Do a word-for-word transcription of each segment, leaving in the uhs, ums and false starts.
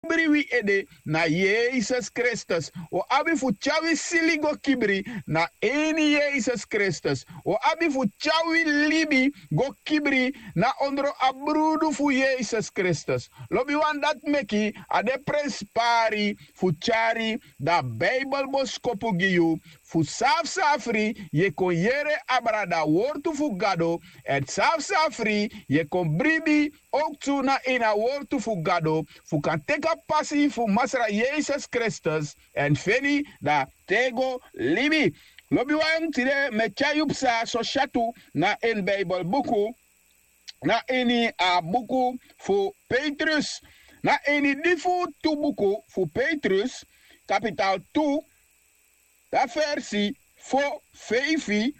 kibri wi ede na yesus kristus. Wi o abi fu tyari wi sili go kibri na ini yesus kristus. Wi o abi fu tyari wi libi go kibri na ondro a brudu fu yesus kristus. Lobiwan, dati meki a de prenspari fu tyari dan bibelboskopu gi yu, fu san a fu san a fri yu e kon yere abra dan a wortu fu gado, èn san a fu san a fri yu e kon bribi owktu na ini a wortu fu gado, fu kan teki a pasi fu masra yesus kristus èn feni dan tego libi. Lobiwan, tide mi e tyari yu psa sosyatu na ini bibelbuku, na ini a buku fu petrus, na ini di fu tu buku fu petrus, kapital tu, dan versi fo feifi.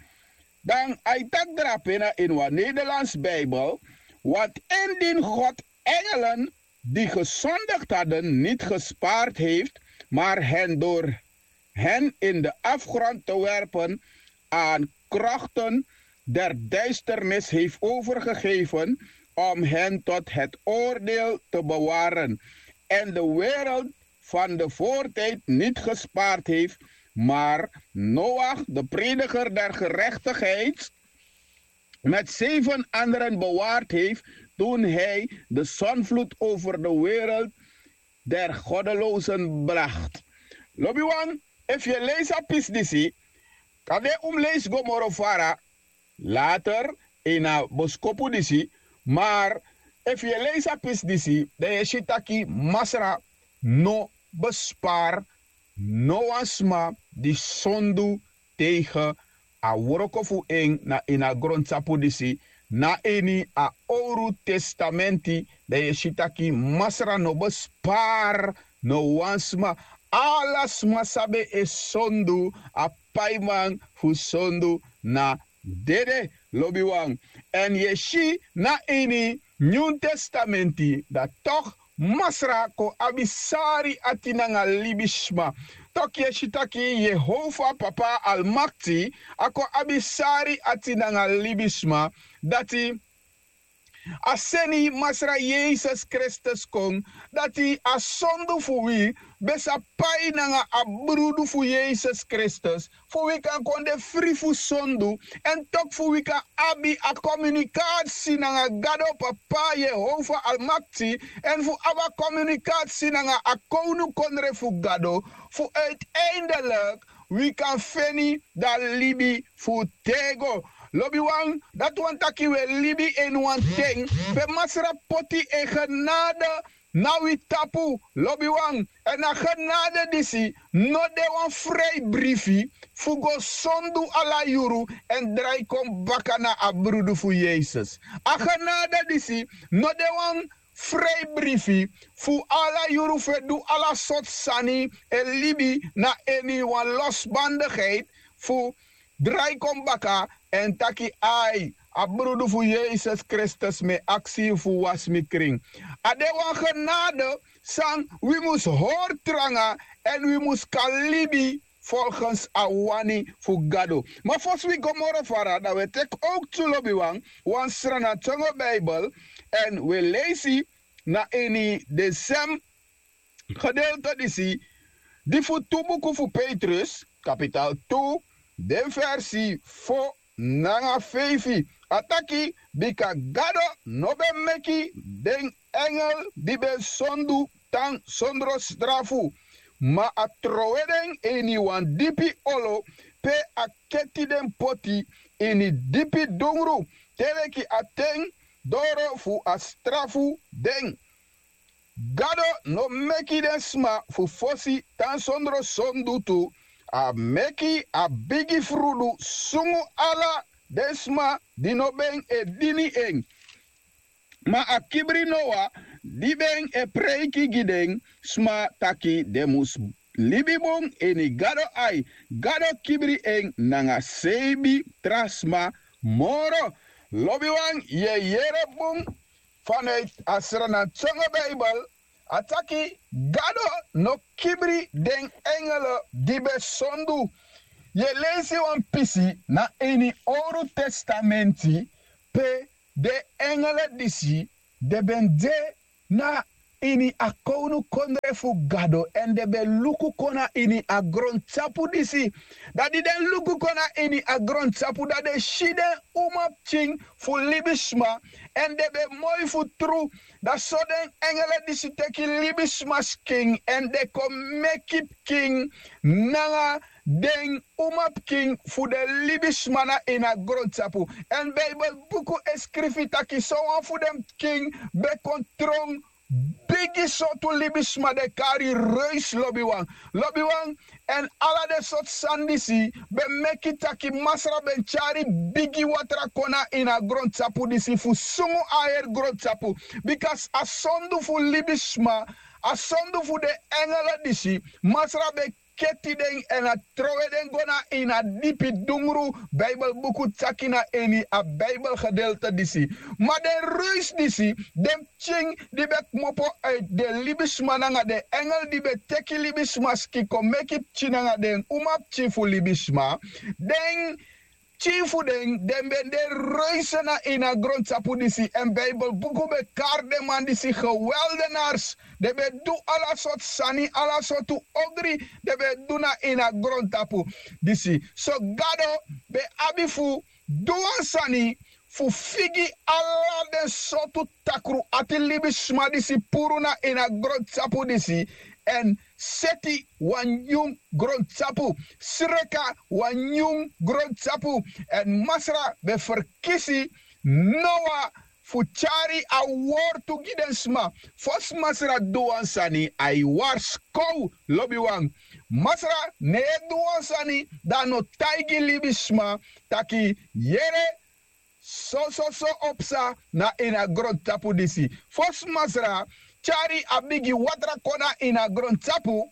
Dan a e taki drape na ini wan nederlands bibel. Want indien god engelen die gezondigd hadden niet gespaard heeft, maar hen door hen in de afgrond te werpen aan krochten der duisternis heeft overgegeven om hen tot het oordeel te bewaren, en de wereld van de voortijd niet gespaard heeft, maar Noach, de prediger der gerechtigheid, met zeven anderen bewaard heeft toen hij de zondvloed over de wereld der goddelozen bracht. Lobiwan, efu yu e leisi a pisi disi, kande un mus leisi go moro fara later, ini a boskopu disi. Mar efu yu e leisi a pisi disi, dan yu e si taki masra no bespari no wan sma di sondu tegen a wroko fu en na ini a grontapu disi. Na ini a owru testamenti, dan yu e si taki masra no bespari no wan sma. Ala sma san ben e sondu, a paiman fu sondu na dede, lobiwan. Èn yu e si na ini nyun testamenti, dan tok' masra kon abi sari ati nanga libisma. Tok' yu e si taki yehova papa almakti, a kon abi sari ati nanga libisma. Dati a seni masra yesus kristus kon, dati a sondu fu wi ben sa pai nanga a brudu fu yesus kristus, fu wi kan kon de fri fu sondu, èn toki fu wi kan abi a komunikasi nanga gado papa yehova almakti, èn fu abi a komunikasi nanga a kownukondre fu gado, fu uiteindelik wi kan feni dan libi fu tego. Lobiwan, dati wani taki wi e libi ini wan ten pe masra poti en genade na wi tapu, lobiwan. Èn a genade disi no de wan frei brifi fu go sondu ala yuru èn drai kon baka na a brudu fu yesus. A genade disi no de wan frei brifi fu ala yuru fu e du ala sortu sani, e libi na ini wan losbandigheid, fu drai kon baka èn taki ai, a brudu fu yesus kristus mi e aksi yu fu wasi mi krin. A de wan genade san wi mus hori tranga èn wi mus kan libi folgens a wani fu gado. Ma fosi wi go moro fara dan wi e teki owktu, lobiwan, wan srana tyongo bibel, èn wi e leisi na ini den sem gedeelte disi, di fu tu buku fu petrus kapital tu, den versi fo nanga feifi. A taki, bika gado no ben meki den engel di ben sondu tan sondro strafu, ma a trowe den ini wan dipi olo pe a keti den poti ini dipi dungru, te leki a ten doro fu a strafu den. Gado no meki den sma fu fosi tan sondro sondu tu, a meki a bigi frudu sungu ala den sma di no ben e dini en. Ma a kibri noa di ben e preiki gi den sma taki den mus libi bun ini gado ai, gado kibri en nanga seibi tra sma moro. Lobiwan, yu e yere bun, fanuiti a srana tyongo bibel, a taki gado no kibri den engele di ben sondu. Yu e leisi wan pisi na ini owru testamenti pe den engele disi den ben de na ini a kownukondre fu Gado, èn den ben luku kon na ini a grontapu disi. Dan di den luku kon na ini a grontapu, dan den si den umapikin fu libisma, èn den ben moi fu tru. Dan so den engele disi teki libisma skin, èn den kon meki pikin nanga den umapikin fu den libisma na ini a grontapu. Èn Beibel buku e skrifi taki sowan fu den pikin ben kon tron bigi sortu libisma den kari reisi, lobiwan. Lobiwan, èn ala den sortu sani disi ben meki taki Masra ben tyari bigi watra kon na ini a grontapu disi fu sungu a heri grontapu. Bika a sondu fu libisma, a sondu fu den engele disi, Masra ben keti den èn a trowe den go na ini a dipi dungru. Beibel buku taki na ini a Beibel gedeelte disi. Ma den reisi disi, den pikin di ben kmopo uit den libisma nanga den engel di ben teki libisma skin kon meki pikin nanga den umapikin fu libisma, den pikin fu den, den ben de reisi na ini a grontapu disi. Èn Beibel buku ben kari den man disi geweldenars. Den ben du ala sortu sani, ala sortu ogri den ben du na ini a grontapu disi. So Gado ben abi fu du wan sani fu figi ala den sortu takru ati libisma disi puru na ini a grontapu disi, èn seti wan nyun grontapu, sreka wan nyun grontapu. Èn Masra ben ferkisi Noa fu tyari a wortu gi den sma. Fosi Masra du wan sani, a e warskow, lobiwan. Masra no e du wan sani dan a no taigi libisma taki yere, sososo o psa na ini a grontapu disi. Fosi Masra tyari a bigi watra kon na ini a grontapu,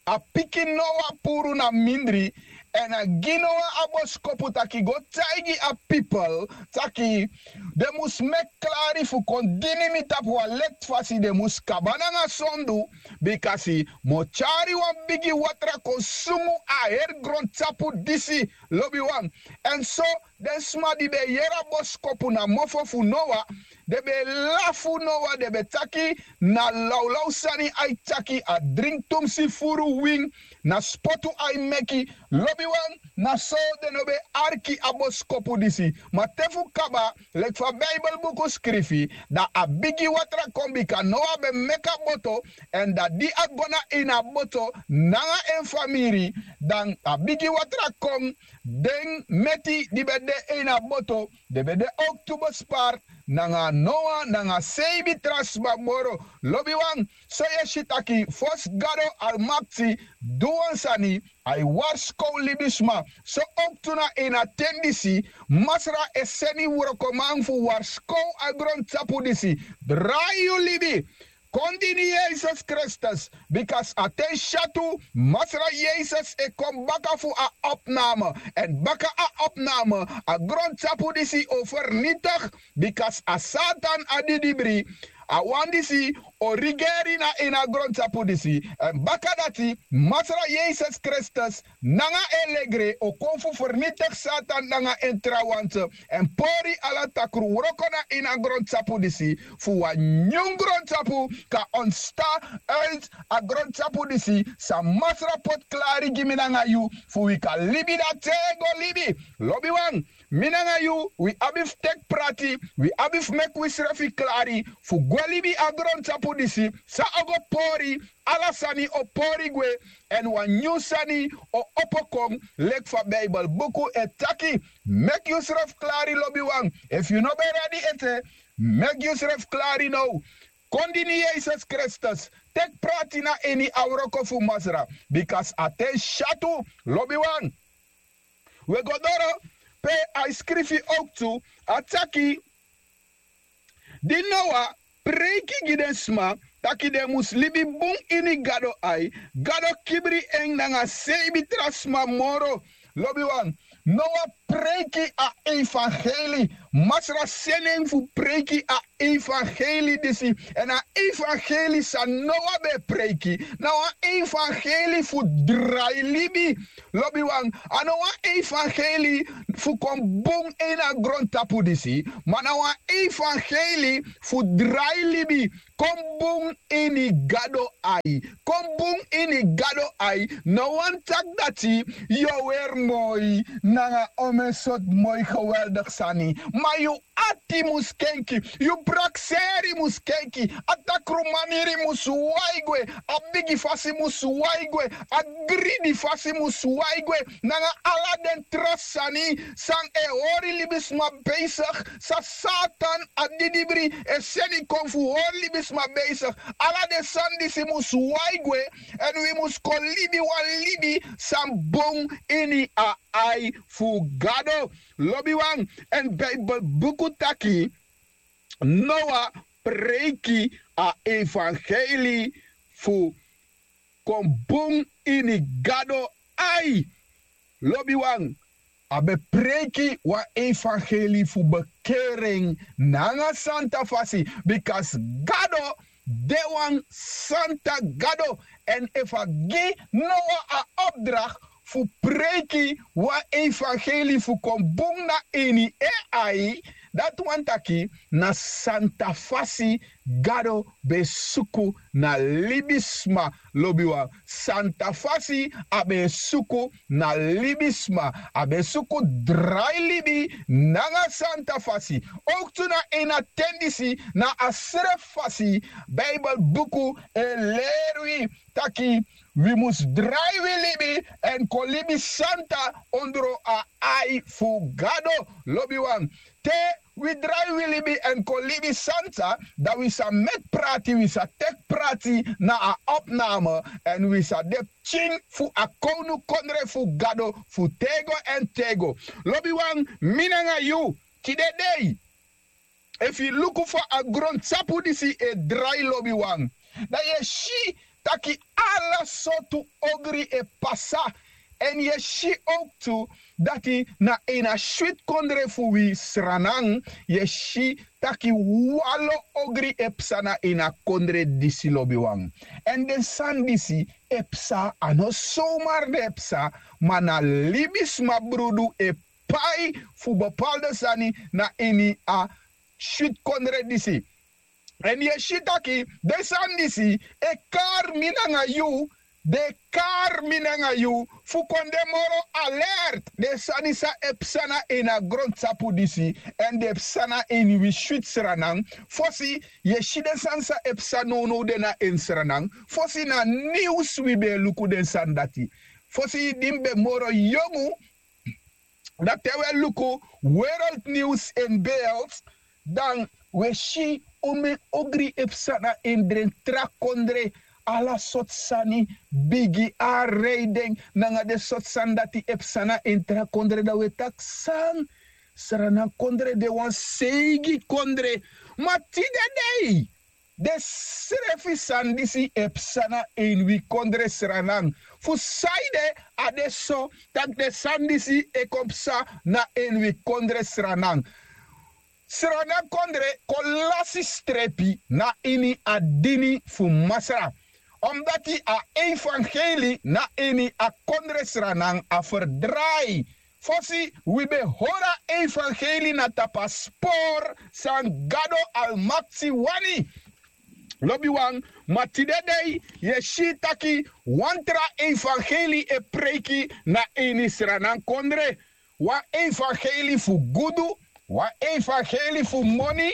a piki Noa puru na mindri, èn a gi Noa a boskopu taki go taigi a pipel taki den mus meki klari fu kon dini mi tapu wan leti fasi, den mus kaba nanga sondu, bikasi mi o tyari wan bigi watra kon sungu a heri grontapu disi, lobiwan. Èn so den sma di ben yere a boskopu na mofo fu Noa, den ben lafu Noa, den ben taki na lawlaw sani a e taki, a dringi tumsi furu win, na spotu a e meki. Lobiwan, na so den no ben arki a boskopu disi. Ma te fu kaba, leki fa Beibel buku skrifi, dan a bigi watra kon bika Noa ben meki a boto, èn dan di a go na ini a boto nanga en famiri, dan a bigi watra kon, den meti di ben de ini a boto, den ben de owktu besparti nanga Noa nanga seibi tra sma moro. Lobiwan, so yu e si taki fosi Gado Almakti du wan sani, a e warskow libisma. So owktu na ini a ten disi, Masra e seni wrokoman fu warskow a grontapu disi. Drai yu libi, kon dini Yesus Kristus, bikasi a ten syatu, Masra Yesus e kon baka fu a opname. Èn baka a opname, a grontapu disi o fernitigi, bikasi a Satan a didibri, a wan disi o rigeri na ini a grontapu disi. Èn baka dati, Masra Yesus Kristus nanga en legre o kon fu fernitigi Satan nanga en trawanti, èn pori ala takru wroko na ini a grontapu disi, fu wan nyun grontapu kan ontstan uit a grontapu disi, san Masra poti klari gi mi nanga yu, fu wi kan libi dan te go libi. Lobiwan, mi nanga yu, wi abi fu teki prati, wi abi fu meki wisrefi klari fu gwe libi a grontapu disi, san o go pori, ala sani o pori gwe, èn wan nyun sani o opo kon, leki fa Beibel buku e taki. Meki yusrefi klari, lobiwan. Efu yu no ben redi ete, meki yusrefi klari now. Kon dini Yesus Kristus, teki prati na ini a wroko fu Masra, bikasi a ten syatu, lobiwan. Wi e go doro pe a e skrifi owktu, a taki, di Noa preiki gi den sma taki den mus libi bun ini Gado ai, Gado kibri en nanga seibi tra sma moro. Lobiwan, Noa preiki a evangelie. Masra seni en fu preiki a evangelie disi. Èn a evangelie san Noa ben e preiki na wan evangelie fu drai libi. Lobiwan, a no wan evangelie fu kon bun ini a grontapu disi, ma na wan evangelie fu drai libi. Kon bun ini Gado ai. Kon bun ini Gado ai no wani taki dati yu o weri moi nanga omeni sortu moi geweldigi sani, ma yu ati mus kenki, yu prakseri mus kenki, a takrumaniri mus wai gwe, a bigi fasi mus wai gwe, a gridi fasi mus wai gwe, nanga ala den tra sani san e hori libisma besigi, san Satan a didibri e seni kon fu hori libisma besigi. Ala den sani disi mus wai gwe, èn wi mus kon libi wan libi san bun ini a ai fu Gado. Lobiwan, èn Bijbel buku taki Noa preiki a evangelie fu kon bun ini Gado ai. Lobiwan, a ben preiki wan evangelie fu bekeren nanga santa fasi, bikasi Gado de wan santa Gado. Èn efu a gi Noa a opdracht fu preiki wan evangelie fu kon bun na ini en ai, dati wani taki na santa fasi Gado ben e suku na libisma. Lobiwan, santa fasi a ben e suku na libisma. A ben e suku drai libi nanga santa fasi. Owktu na ini a ten disi, na a srefi fasi Bijbel buku e leri wi taki wi mus drai wi libi èn kon libi santa ondro a ai fu Gado. Lobiwan, te wi drai wi libi èn kon libi santa, dan wi sa meki prati, wi sa teki prati na a opname, èn wi sa de pikin fu a kownukondre fu Gado fu tego èn tego. Lobiwan, mi nanga yu, tide dei, efu yu luku fa a grontapu disi e drai, lobiwan, dan yu e si taki ala sortu ogri e pasa. Èn yu e si owktu dati na ini a switi kondre fu wi Sranan, yu e si taki wanlo ogri e psa na ini a kondre disi, lobiwan. Èn den sani disi e psa, a no somar den e psa, ma na libisma brudu e pai fu bepaalde sani na ini a switi kondre disi. Èn yu e si taki den sani disi e kari mi nanga yu, den e kari mi nanga yu fu kon de moro alert. Den sani san e psa na ini a grontapu disi, èn den e psa na ini wi switi Sranan. Fosi yu e si den sani san e psa nownow de na ini Sranan, fosi na niws wi ben e luku den sani dati. Fosi di mi ben moro yongu, dan te wi e luku wereldniws in beeld, dan wi e si omeni ogri e psa na ini den tra kondre. Ala sortu sani, bigi a rei den nanga den sortu sani dati e psa na ini tra kondre, dan wi e taki san, Sranan kondre de wan seigi kondre. Ma tide dei, den srefi sani disi e psa na ini wi kondre Sranan. Fu sanede a de so tak' den sani disi e kon psa na ini wi kondre Sranan? Sranan kondre kon lasi strepi na ini a dini fu Masra, omdati a evangeli na ini a kondre Sranan a ferdrai. Fosi wi ben hori a evangeli na tapu a spor san Gado Almakti wani. Lobiwan, ma tide dei yu e si taki wan tra evangeli e preiki na ini Sranan kondre. Wan evangeli fu gudu, wan evangeli fu moni,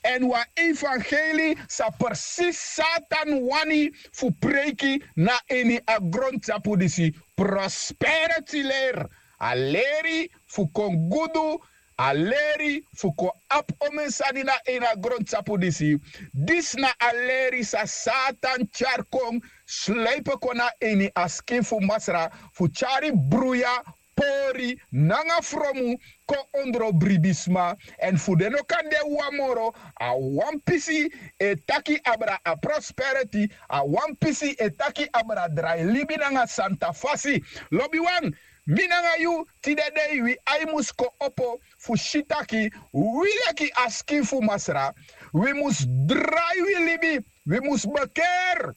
èn wan evangeli san presisi Satan wani fu preiki na ini a grontapu disi. Prosperity leri, a leri fu kon gudu, a leri fu kon abi omeni sani na ini a grontapu disi. Disi na a leri san Satan tyari kon, sleipe kon na ini a skin fu Masra, fu tyari bruya, pori nanga fromu kon ondro libisma. Èn fu den no kan de wan moro, a wan pisi e taki abra a prosperity, a wan pisi e taki abra drai libi nanga santa fasi. Lobiwan, Mi nanga yu, tide dei wi ai mus kon opo fu si taki wi leki a skin fu Masra, wi mus drai wi libi, wi mus bekeri.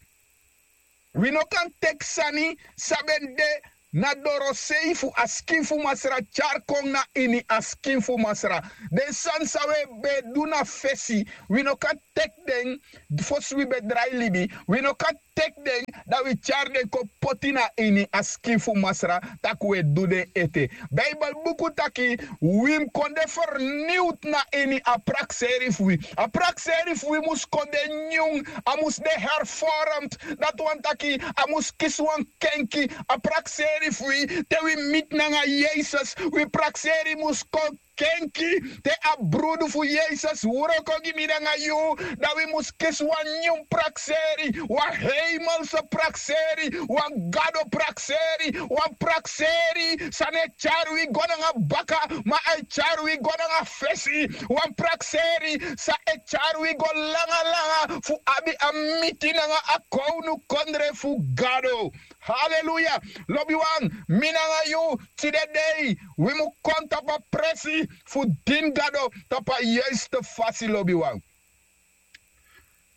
Wi no kan teki sani san ben de na dorosei fu a skin fu Masra tyari kon na ini a skin fu Masra. Den sani san wi ben e du na fesi, wi no kan teki den fosi wi ben drai libi, wi no kan teki den, dan wi tyari den kon poti na ini a skin fu Masra, tak' wi e du den ete. Beibel buku taki wi mus kon de ferniwd na ini a prakseri fu wi. A prakseri fu wi mus kon de nyun, a mus de hervormd. Dati wani taki a mus kisi wan kenki. A prakseri fu wi, te wi miti nanga Yesus, wi prakseri mus kon kenki. Te a brudu fu Yesus wroko gi mi nanga yu, dan wi mus kisi wan nyun prakseri, wan heimelse prakseri, wan gado prakseri, wan prakseri san no e tyari wi go nanga baka, ma a e tyari wi go nanga fesi. Wan prakseri san e tyari wi go langa langa fu abi a miti nanga a kownukondre fu Gado. Haleluya. Lobiwan, mi nanga yu, tide dei wi mu kon tapu a presi fu dini Gado tapu a yuiste fasi, lobiwan.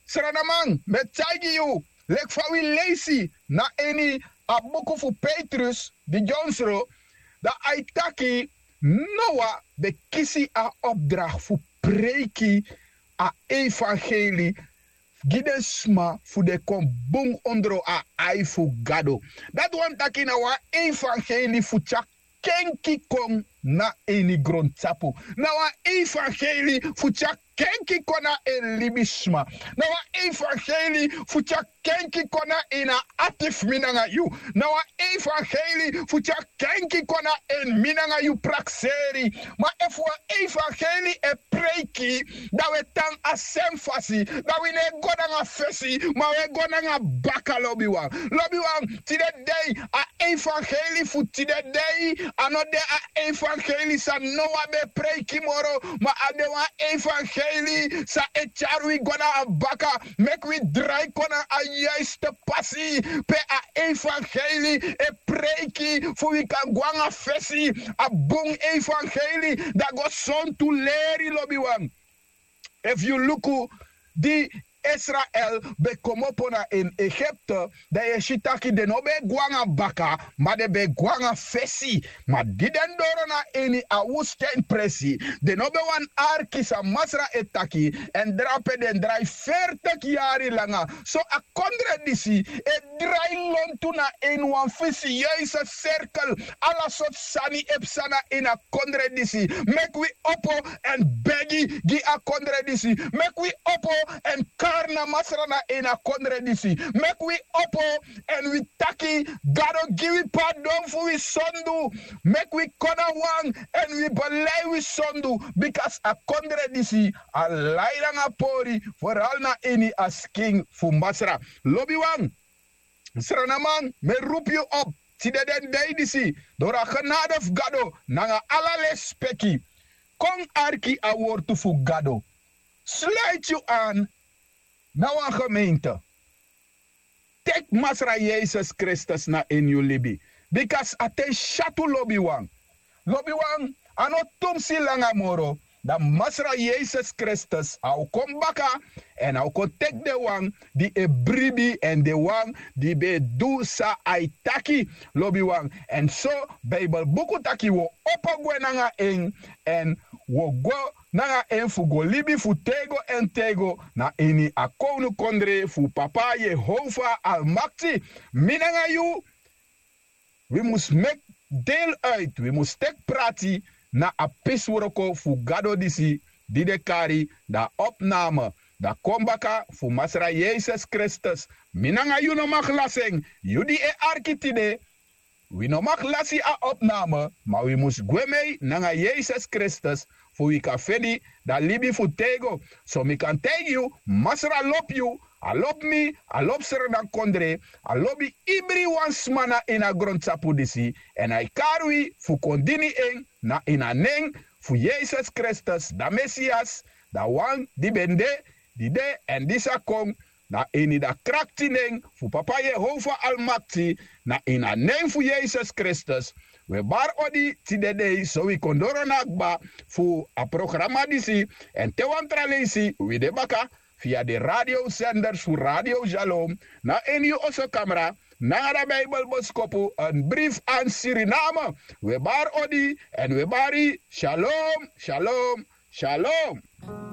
Sranaman, mi e taigi yu, leki fa wi leisi na ini a buku fu Petrus di dyonsro, dan a e taki Noa ben kisi a opdracht fu preiki a evangeli gi den sma fu den kon bun ondro a ai fu Gado. Dati wani taki na wan evangeli fu tyari kenki kon na ini grontapu. Na wan evangeli fu tyari kenki kon na en libisma. Na wan evangeli fu tyari kenki kon na ini a ati fu mi nanga yu. Na wan evangeli fu tyari kenki kon na ini mi nanga yu prakseri. Ma efu wan evangeli e preiki, dan wi e tan a sen fasi, dan wi no e go nanga fesi, ma wi e go nanga baka, lobiwan. Lobiwan, tide dei a evangeli fu tide dei a no de a evangeli san Noa ben e preiki moro, ma a de wan evangeli san e tyari wi go na a baka, meki wi drai kon na a yuiste pasi pe a evangeli e preiki fu wi kan go nanga fesi. A bun evangeli, dan go sontu leri, lobiwan. Efu yu luku di Israel ben komopo na ini Egipte, dan yu e si taki den no ben e go nanga baka, ma den ben e go nanga fesi. Ma di den doro na ini a wustèn presi, den no ben wani arki san Masra e taki, èn drape den drai fertigi yari langa. So a kondre disi e drai lontu na ini wan fisiyeuze serkel. Ala sortu sani e psa na ini a kondre disi. Meki wi opo èn begi gi a kondre disi. Meki wi opo èn kari na Masra na ini a kondre disi. Meki wi opo èn wi taki Gado gi wi pardon fu wi sondu. Meki wi kon na wan èn wi belei wi sondu. Bika a kondre disi a lai nanga pori, foral na ini a skin fu Masra. Lobiwan, sranaman, mi e roepi yu op tide den dei disi, doro a genade fu Gado nanga ala lespeki, kon arki a wortu fu Gado. Sluiti yu an na wan gemeente. Teki Masra Yesus Kristus na ini yu libi. Bika a ten syatu, lobiwan. Lobiwan, a no tumsi langa moro, dan Masra Yesus Kristus a o kon baka, èn a o kon teki den wan di e bribi èn den wan di ben e du san a e taki, lobiwan. Èn so Beibel buku taki wi o opo gwe nanga en, èn wi o go nanga en fu go libi fu tego èn tego na ini a kownukondre fu Papa Yehova Almakti. Mi nanga yu, wi mus meki deel uit, wi mus teki prati na a pisi wroko fu Gado disi di den kari dan a opname, dan a kon baka fu Masra Yesus Kristus. Mi nanga yu no mag lasi en. Yu di e arki tide, wi no mag lasi a opname, ma wi mus gwe mei nanga Yesus Kristus fu wi kan feni dan libi fu tego. So mi kan taigi yu, Masra lobi yu, a lobi mi, a lobi Sranan kondre, a lobi ibriwan sma na ini a grontapu disi, èn a e kari wi fu kon dini en na ini a nen fu Yesus Kristus, dan Mesias, dan wan di ben de, di de èn di sa kon, na ini dan krakti nen fu papa yehova almakti, na ini a nen fu yesus kristus. Wi e bari odi tide dei so wi kon doro na a kba fu a programa disi. Èn te wan tra leisi wi de baka fia den radiosenders fu radio shalom, na ini yu oso kamra nanga dan bibelboskopu, en brief an siriname. Wi e bari odi èn wi e bari shalom, shalom, shalom.